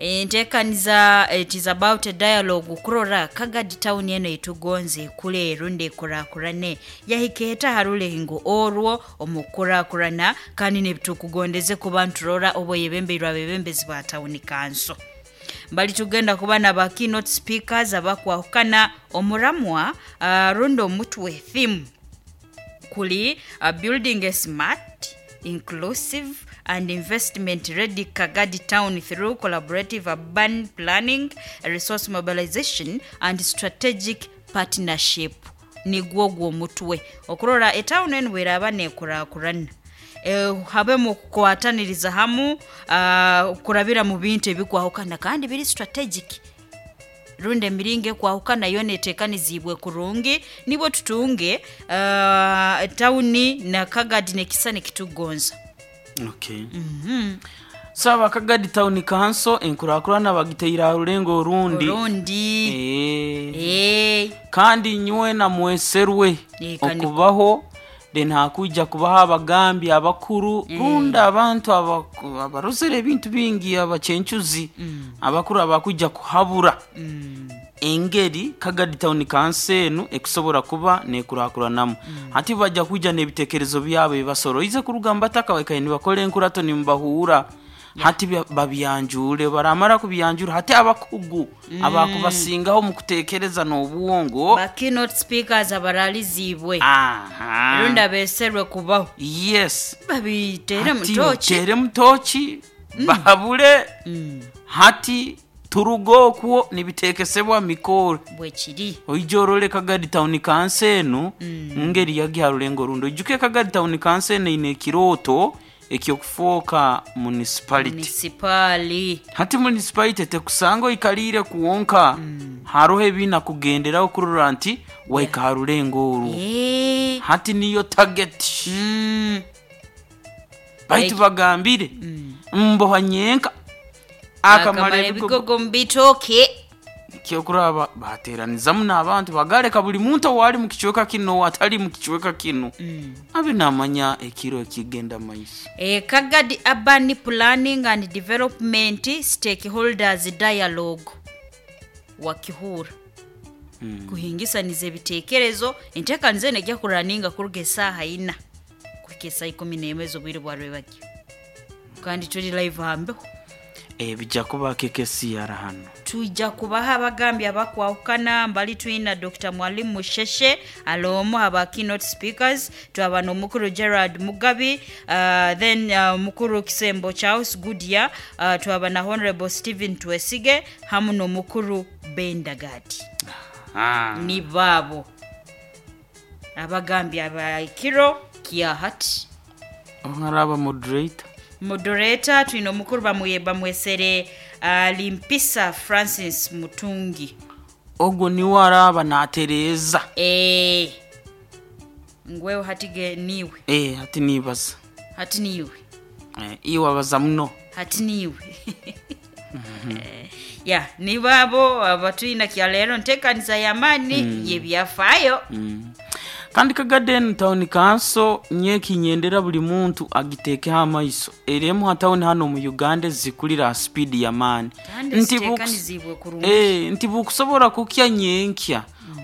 Enteekaniza, it is about a dialogue kurora Kagadi town eno etugonze ekule erundi ekurakurane, yahika eta ha rulengo orwo omu kukurakurana, kandi nebitukugondeze kuba nturora obweyebembeirwe abebembezi ba town council. Mbali tugenda kuba na ba keynote speakers abakwahukana omuramwa, rundi omutwe theme kuli building a smart, inclusive and investment ready Kagadi town through collaborative urban planning, resource mobilization and strategic partnership. Nigwo ogwo omutwe okurora etawuni enu bweraba nekurakurana, habemu okukwataniriza hamu, kurabira mu bintu ebikwahukana kandi biri strategic, rundi emiringo ekwahukana yoona eteekaniziibwe kurungi, nibwo tutunge tawuni na Kagadi nekisani ekitukugonza. Okay. So aba Kagadi Town Council enkurakurana bagiteire aha rulengo orundi. Orundi. Kandi nywena mweserwe Kandi okubaho, then hakwija kubaho abagambi abakuru, rundi abantu abarozere ebintu bingi, abacencuzi abakuru abakwija kuhabura engeri Kagadi Town Council enu ekusobora kuba nekurakuranamu. Hati bajja kwija n'ebitekerezo byabo ebibasoroize kuruga mu bataka baikaire nibakora enkurato nimubahuura. Hati babyanjure, baramara kubyanjura hati abakugu abakubasingaho mu kutekereza n'obwongo, ba keynote speakers abaraliziibwe rundi abeeserwe kubaho, babitere Hati mutoki, batere mutoki bahabure. Hati turuga okwo nibitekesebwa mikoro. Bwekiri. Oija orole Kagadi Town Council enu ngeri yagiha rulengo rundi. Oijuke Kagadi Town Council enu eine ekirooto eky'okufooka municipality. Municipali. Hati municipality tekusanga oikaliire kwonka, haroho ebina kugenderaho kurora nti waika ha rulengo orwo. Hati niyo target. Baitu bagambire mboha nyenka akamara akamara ebigogo ebigogo mu bitooke. Kyokuraba bateranizamu n'abantu bagareka buli muntu owali mu kicweka kino atali mu kicweka kino abe namanya ekiro ekigenda maiso. Kagadi Urban Planning and Development Stakeholders Dialogue wakihura kuhingisaniza ebitekerezo. Enteekaniza eno ejja kuraninga kuruga esaaha 4 kuhika esaaha 11 ez'obwire bwa rwebagyo, kandi turi live hambeho. Bijja kuba KKCR hano. Twija kubaha abagambi abakwahukana. Mbali twina Dr. Mwalimu Musheshe alomu aba keynote speakers, twaba n'omukuru Gerard Mugabi, then mukuru Kisembo Charles Goodyear, twaba na Honorable Stephen Twesige hamu n'omukuru Bendagadi. Ni baabo abagambi abakiro kya hati. Ongaraba moderator. Moderator twine omukuru bamwesere Limpisa Francis Mutungi. Ogwo niwe araba natereeza. Ngwewe hati ge niwe. Hati nibaza. Hati niwe. Iwe abaza muno. Hati niwe. Ya nibabo abatwina kya leero nteekaniza y'amaani y'ebyafaayo. Kandi Kagadi Town Council nyekinyendera buli muntu agiteekeho amaiso, eremu ha tawuni hano mu Uganda zikulira ha speed y'amaani. Kandi Nti ziteekaniziibwe kurungi. Nti bukusobora kukya nyenkya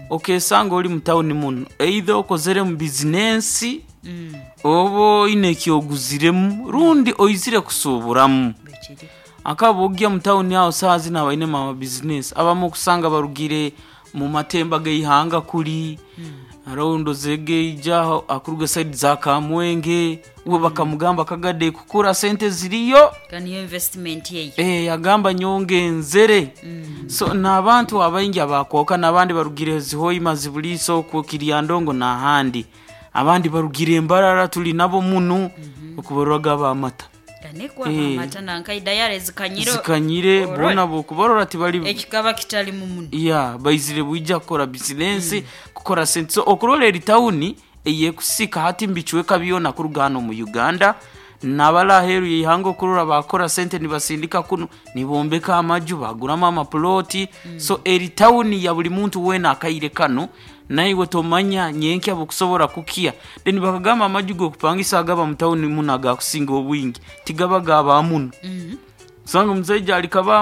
okesanga ori mu tawuni muno, either okozere mu bizinensi, oba oine ekyoguziremu, rundi oizire kusuuburamu. Bwekiri. Akaba ogya mu tawuni aho saaha zinu abainemu amabizinesi abamu okusanga barugire mu matemba g'eihanga kuri, around zegeija akuruga side za Kamwenge, we bakamugamba Kagadi kukura sente ziriyo. Kandi niyo investment yeyo. Yagamba nyonge nzere. So n'abantu abaingi abakwoka, n'abandi barugire Zihoima, Zibuliso, okwo Kiryandongo n'ahandi, abandi barugire Embarara tuli nabo munu, okubarwaga abamata. Ganekwa amata nanka idayare zikanyire. Zikanyire bona bokubarora tibali ekikaba kitali mu muno. Ya baizire bwija kukora bizinensi, kukora sente. So okurora eri tawuni eyekusika hati mbicweka byona kuruga hano mu Uganda nabali aheeru yeihanga, okurora bakora sente nibasindika kuno, nibombeka amaju, baguramu amaploti. So eri tawuni ya buli muntu weena akaire kano, naiwe tomanya nyenkya bukusobora kukia. Then bakagamba amaju g'okupangisa agaba mu tawuni muno agakusinga obwingi tigaba gaba muno, osanga omusaija ali Kabamba.